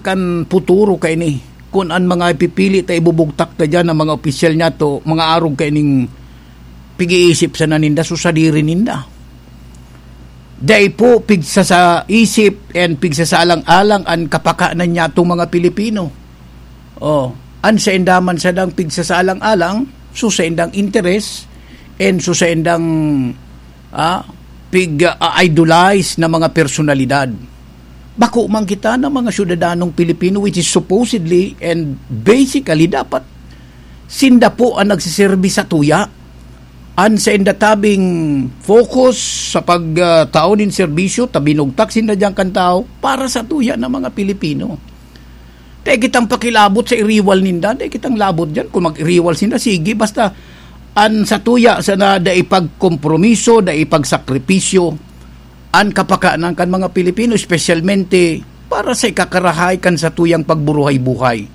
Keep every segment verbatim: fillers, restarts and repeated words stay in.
an futuro kaini, kun an mga ipipili ta ibubugtak ta diyan, ang mga opisyal niyato, mga arog kaining pig-iisip sana ninda, so sadiri ninda. Dai po pigsasaisip and pigsasalang-alang an kapakanan niyatong mga Pilipino. Oh, an sainda man sadang pigsasalang-alang, so saindang interes, and so saindang, ah, pig, ah, idolize na mga personalidad. Bako man kita na mga syudadanong Pilipino, which is supposedly and basically dapat sinda po ang nagsiserbi sa tuya. An sainda tabing focus sa pag, ah, tao nin serbisyo, ta binugtak sinda diyan kan tao para sa tuya ng mga Pilipino. Dai kitang pakilabot sa iriwal ninda, dai kitang labot diyan. Kung mag-iriwal sinda, sige, basta an sa tuya sana dai pagkompromiso, dai pagsakripisyo an kapakanan kan mga Pilipino, espesyalmente para sa ikakarahay kan satuyang pagburuhay-buhay.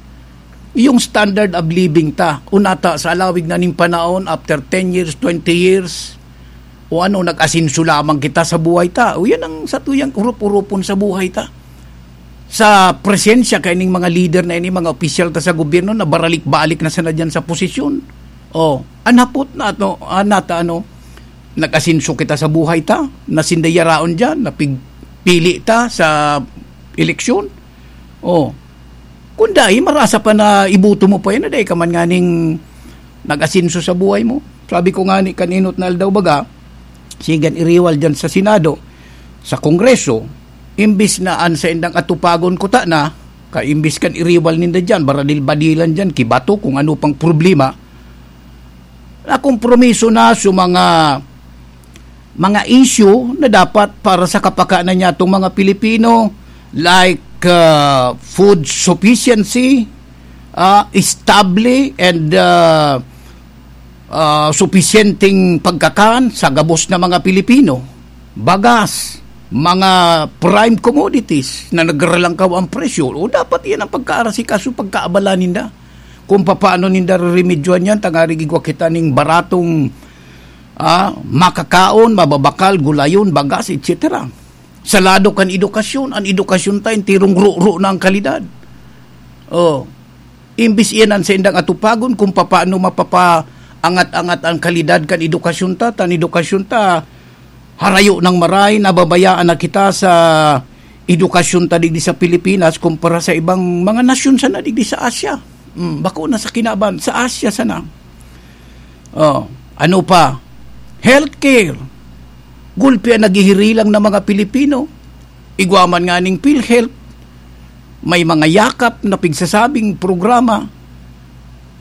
Yung standard of living ta, unata sa alawig na ning panahon, after ten years, twenty years, o ano, nag-asenso lamang kita sa buhay ta. O yan ang satuyang urup-urupon sa buhay ta. Sa presensya kaining mga lider na ini, mga opisyal ta sa gobyerno na baralik-balik na sana diyan sa posisyon. Oh, anhapot na ato, anata ano, nag-asenso kita sa buhay ta, na sinda yaraon diyan, napigpili ta sa eleksyon. Oh, kung dai, marasa pa na iboto mo pa yan, na dai ka man nganing nag-asenso sa buhay mo. Sabi ko nga ni, kan inot na aldaw baga, sigan iriwal diyan sa Senado, sa Kongreso, imbis na an saindang atupagon kuta na, ka imbis kan iriwal ninda diyan, baradil-badilan diyan, kibato, kung ano pang problema, nakompromiso na sa mga, mga issue na dapat para sa kapakanan niyatong mga Pilipino, like, ah, food sufficiency, ah, stable and, ah, ah, supisyenteng pagkakan sa gabos na mga Pilipino, bagas, mga prime commodities na nagralangkaw ang presyo, o dapat iyan ang pagkaarasikaso, pagkaabala ninda. Kung papaano ninda reremedyohan yan, tangarig igwa kita ning baratong, ah, makakaon, mababakal, gulayon, bagas, et cetera. Sa lado kan edukasyon, an edukasyon ta, enterong ro-ro na ang kalidad. Oh, imbis iyan an saindang atupagon kung papaano mapapaangat-angat ang kalidad kan edukasyon ta, ta an edukasyon ta, harayo nang maray, nababayaan na kita sa edukasyon ta digdi sa Pilipinas kumpara sa ibang mga nasyon sana digdi sa Asia. Mm, bako na sa kinaban, sa Asia sana. Oh, ano pa? Healthcare. Gulpi an naghihirilang na mga Pilipino. Igwa man nganing PhilHealth. May mga yakap na pigsasabing programa.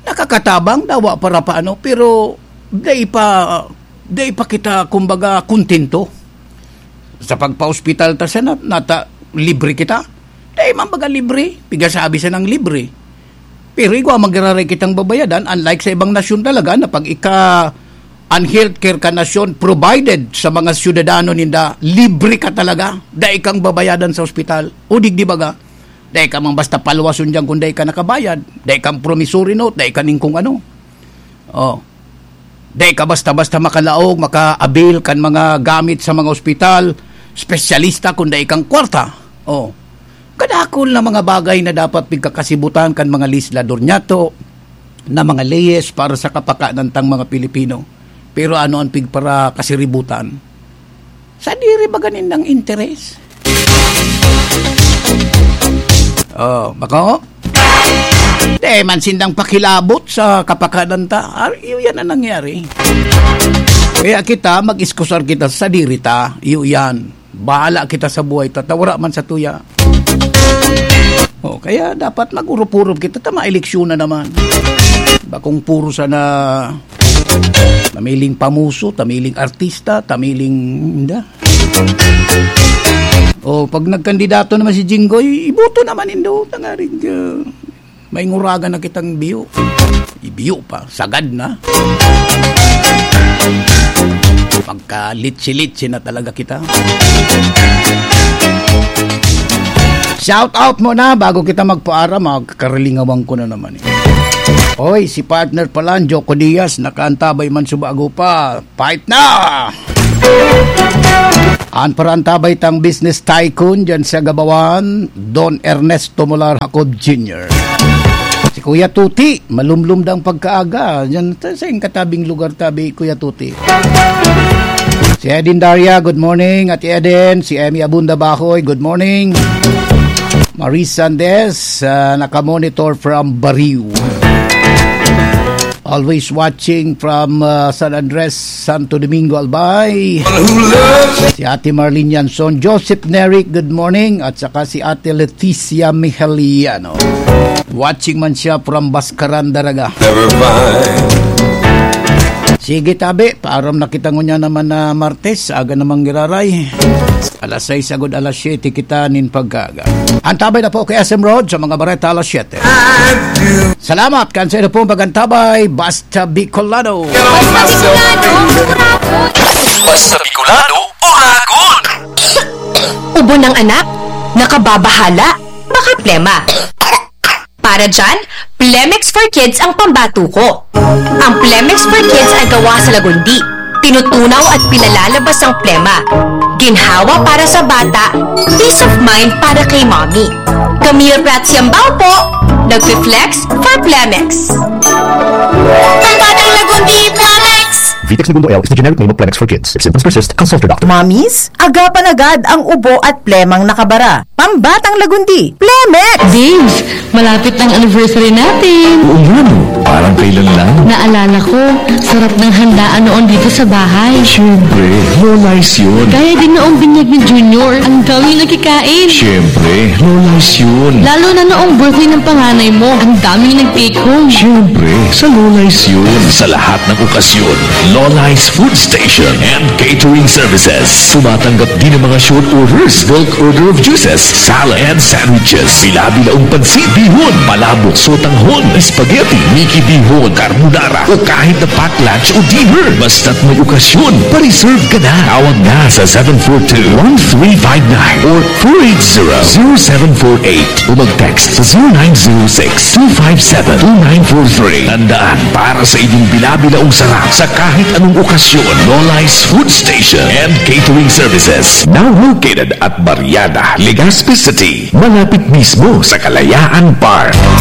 Nakakatabang, dawa para paano, pero dai pa, dai pa kita, kumbaga, kontento. Sa pagpa-ospital ta sana, nata, libre kita. Dai man baga libre, pigasabi sanang libre. Pero igwa man giraray kitang babayadan, unlike sa ibang nasyon talaga na pag ika an healthcare kan nasyon provided sa mga syudadano ninda, libre ka talaga. Dai kang babayadan sa ospital. O digdi baga, dai ka man basta palwason diyan kung dai ka nakabayad. Dai kang promissory note, dai ka ning kung ano. Oh. Dai ka basta-basta makalaog, maka-avail kan mga gamit sa mga ospital, espesyalista kung dai kang kwarta. Oh. Kadakul na mga bagay na dapat pigkakasibutan kan mga legislador niyato na mga leyes para sa kapakanan tang mga Pilipino. Pero ano an pigparakasiributan? Sadiri baga nindang interes? Oh, bako? Di man sindang pakilabot sa kapakanan ta. Ar-, iyo yan ang nangyari. Kaya kita, mag-iskusar kita sa sadiri ta. Iyo yan. Bahala kita sa buhay ta, ta wara man sa tuya. Oh, kaya dapat mag-urup-urup kita, ta maeleksyon na naman. Bakong puro sana tamiling pamuso, tamiling artista, tamiling, inda. Oh, pag nagkandidato naman si Jinggoy, iboto naman indo, tangarig, ah, may nguragan na kitang biyo. Ibiyo pa, sagad na. Magka-litsi-litsi na talaga kita. Shout out muna bago kita magpaara, magkakarilingawang ko na naman eh. Oy, si partner pala, Joko Diaz, nakaantabay man sa bago pa. Fight na! An parantabay tang business tycoon dyan sa Gabawan, Don Ernesto Molar Jacob Junior. Si Kuya Tuti, malumlum dang pagkaaga. Dyan sa, sa katabing lugar tabi, Kuya Tuti. Si Eden Daria, good morning. Ate Eden, si Emmy Abunda Bahoy, good morning. Marie Sandes, ah, nakamonitor from Bariw. Always watching from, ah, San Andres, Santo Domingo, Albay. Si Ate Marlene Yanson, Joseph Neric, good morning. At saka si Ate Leticia Mihaliano. Watching man siya from Bascaran, Daraga. Never mind. Sige, tabi. Paaram na kita ngunyan naman na Martes. Aga namang giraray. Alas sais agod alas siyete kita nin pagkaga. Antabay na po kay S M Road sa mga bareta alas siyete. Salamat kan sa inyo pong pag-antabay. Basta Bicolano. Basta Bicolano, Uragon. Basta Bicolano, Uragon. Ubo ng anak, nakababahala, baka plema. Para dyan, Plemex for Kids ang pambato ko. Ang Plemex for Kids ay gawa sa lagundi. Tinutunaw at pinalalabas ang plema. Ginhawa para sa bata, peace of mind para kay mommy. Camille Prats Yambao po, nagfi-flex for Plemex. Pambatang lagundi, Plemex! Vitex Negundo L is the generic name of Plemex for Kids. If symptoms persist, consult your doctor. Mommies, agapan agad ang ubo at plemang nakabara. Pambatang lagundi, Plemex! Babes, malapit na ang anniversary natin. Oo nga, no? Parang kailan lang. Naalala ko, sarap ng handaan noon dito sa bahay. Siyempre, Lola's yun. Gaya din noong binyag ni Junior, ang daming nakikain. Siyempre, Lola's yun. Lalo na noong birthday ng panganay mo, ang daming nag-take home. Siyempre, sa Lola's yun. Sa lahat ng okasyon, Lola's Food Station and Catering Services. Tumatanggap din ng mga short orders, bulk order of juices, salad, and sandwiches. Bila-bilaong pansit, bihon, palabok, sotanghon, spaghetti, Mickey bihon, carbonara, o kahit na pack lunch o dinner. Basta't may okasyon, pa-reserve ka na. Tawag na sa seven four two, one three five nine or four eight zero, zero seven four eight o mag-text sa zero nine zero six, two five seven, two nine four three. Tandaan, para sa inyong bila-bilaong sarap sa kahit anong okasyon, Lola's Food Station and Catering Services. Now located at Barriada, Legazpi City, malapit mismo sa Kalayaan Park.